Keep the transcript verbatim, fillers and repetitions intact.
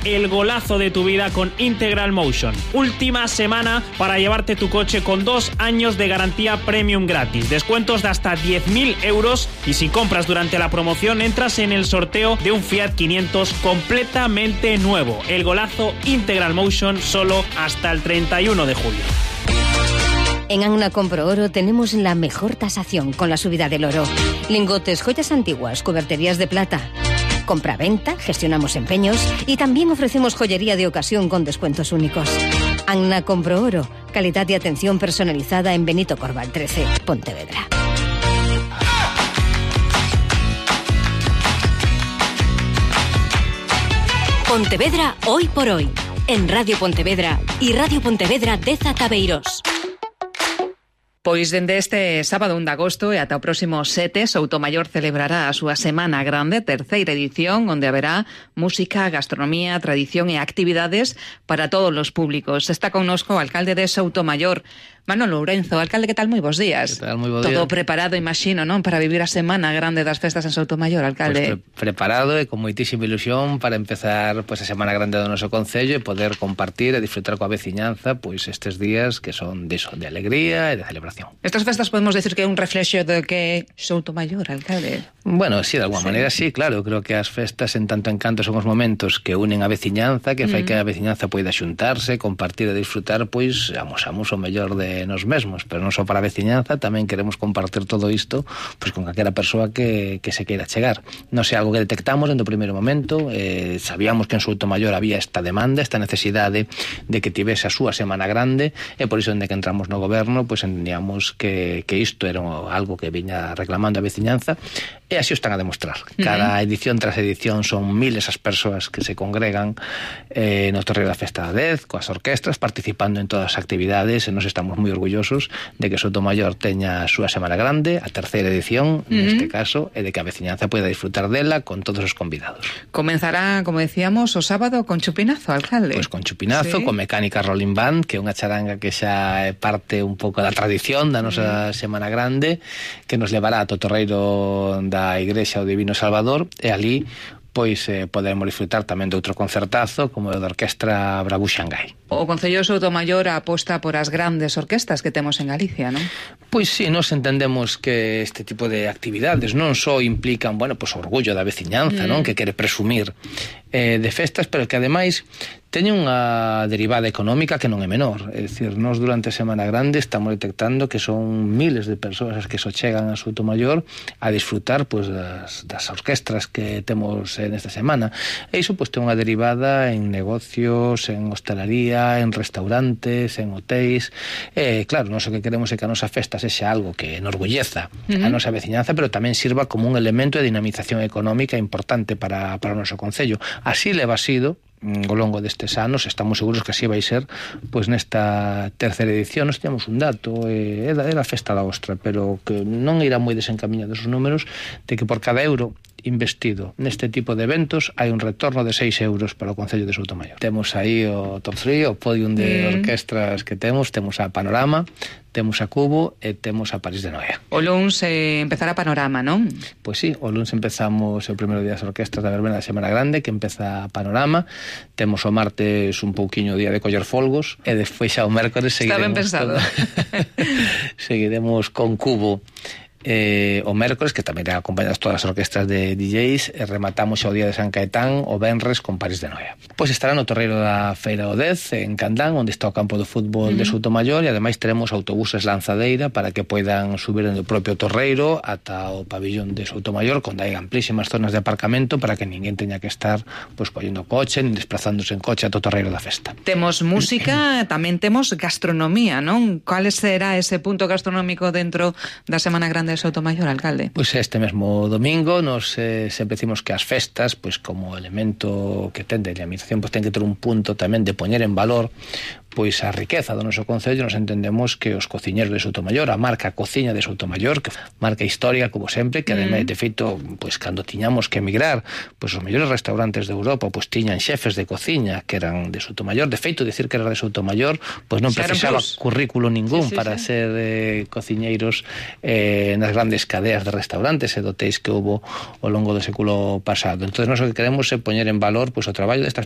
el golazo de tu vida con Integral Motion. Última semana para llevarte tu coche con dos años de garantía premium gratis, descuentos de hasta diez mil euros y si compras durante la promoción entras en el sorteo de un Fiat quinientos completamente nuevo. El golazo Integral Motion solo hasta el treinta y uno de julio. En Anna Compro Oro tenemos la mejor tasación con la subida del oro. Lingotes, joyas antiguas, cuberterías de plata. Compra-venta, gestionamos empeños y también ofrecemos joyería de ocasión con descuentos únicos. Anna Compro Oro, calidad y atención personalizada en Benito Corval trece, Pontevedra. Pontevedra hoy por hoy, en Radio Pontevedra y Radio Pontevedra de Zataveiros. Pois dende este sábado un de agosto e ata o próximo sete, Soutomaior celebrará a súa Semana Grande, terceira edición, onde haberá música, gastronomía, tradición e actividades para todos os públicos. Está connosco o alcalde de Soutomaior, Manolo Lourenzo. Alcalde, que tal? Moi bons días. Que tal? Moi bo Todo día. Preparado, imagino, non? Para vivir a Semana Grande das festas en Soutomaior, alcalde. Pues pre preparado e con moitísima ilusión para empezar pues, a Semana Grande do noso concello e poder compartir e disfrutar coa veciñanza pues, estes días que son de, eso, de alegría e de celebración. Estas festas podemos decir que é un reflexo de que Soutomaior, alcalde. Bueno, sí, de alguma sí. maneira sí, claro. Creo que as festas en tanto encanto son os momentos que unen a veciñanza, que fai mm. que a veciñanza poida xuntarse, compartir e disfrutar, pois amosamos o mellor de nos mesmos, pero non só para a veciñanza, tamén queremos compartir todo isto pois con calquera persoa que, que se queira chegar. Non sei, algo que detectamos dentro do primeiro momento, eh, sabíamos que en Soutomaior había esta demanda, esta necesidade de que tivese a súa Semana Grande, e por iso, dende que entramos no goberno, pois entendíamos que, que isto era algo que viña reclamando a veciñanza, e así o están a demostrar. Cada edición tras edición son miles as persoas que se congregan eh, no Torreiro da Festa da Dez, coas orquestras, participando en todas as actividades, e nos estamos moi orgullosos de que Soutomaior teña a súa Semana Grande, a terceira edición, uh-huh. neste caso, e de que a veciñanza poida disfrutar dela con todos os convidados. Comenzará, como decíamos, o sábado con chupinazo, alcalde. Pois con chupinazo, ¿Sí? con mecánica Rolling Band, que é unha charanga que xa é parte un pouco da tradición da nosa uh-huh. Semana Grande, que nos levará a Torreiro da da Igrexa do Divino Salvador, e ali pois eh, poderemos disfrutar tamén de outro concertazo como o da Orquestra Bravú Xangai. O Concello de Soutomaior aposta por as grandes orquestas que temos en Galicia, non? Pois sí, nos entendemos que este tipo de actividades non só implican, bueno, pois orgullo da veciñanza, mm. non, que quere presumir eh, de festas, pero que ademais teñen unha derivada económica que non é menor. É dicir, nós durante a Semana Grande estamos detectando que son miles de persoas as que se chegan a Soutomaior a disfrutar pois, das, das orquestras que temos eh, nesta semana. E iso pois, ten unha derivada en negocios, en hostelería, en restaurantes, en hotéis. E claro, nós o que queremos é que a nosa festa sexa algo que enorgulleza uh-huh. a nosa veciñanza, pero tamén sirva como un elemento de dinamización económica importante para, para o noso concello. Así leva sido ao longo destes anos, estamos seguros que así vai ser pois nesta terceira edición. Nós temos un dato, é da, é da festa da ostra, pero que non irá moi desencamiñados os números, de que por cada euro investido neste tipo de eventos hai un retorno de seis euros para o Concello de Soutomaior. Temos aí o top tres, o podium de mm. orquestras que temos, temos a Panorama, temos a Cubo e temos a París de Noia. O luns eh, empezará Panorama, non? Pois sí, o luns empezamos o primeiro día das orquestras da verbena da Semana Grande, que empeza Panorama. Temos o martes un pouquiño o día de coller folgos, e despois xa o mércores seguiremos. Está ben pensado. Seguiremos con Cubo eh, o mércores, que tamén acompañadas todas as orquestras de D Js, e rematamos o día de San Caetán o venres con París de Noia. Pois estará no Torreiro da Feira do Dez, en Candán, onde está o campo de fútbol uh-huh. de Soutomaior, e ademais teremos autobuses lanzadeira para que poidan subir no propio Torreiro ata o pabillón de Soutomaior, onde hai amplísimas zonas de aparcamento para que ninguén teña que estar pois, collendo coche, nin desplazándose en coche ata o Torreiro da Festa. Temos música, tamén temos gastronomía, non? Cal será ese punto gastronómico dentro da Semana Grande de Soutomaior, alcalde? Pois este mesmo domingo nos eh, sempre decimos que as festas, pois como elemento que ten de dinamización, pois ten que ter un punto tamén de poñer en valor pois a riqueza do noso concello. Nos entendemos que os cociñeros de Soutomaior, a marca Cociña de Soutomaior, que marca histórica como sempre, que ademais de feito, pois cando tiñamos que emigrar, pois os mellores restaurantes de Europa pois tiñan xefes de cociña que eran de Soutomaior. De feito, dicir que era de Soutomaior pois non precisaba currículo ningún sí, sí, para sí. ser eh, cociñeiros eh, nas grandes cadeas de restaurantes e de hotéis que houbo ao longo do século pasado. Entón, nós o que queremos é poñer en valor pois o traballo destas persoas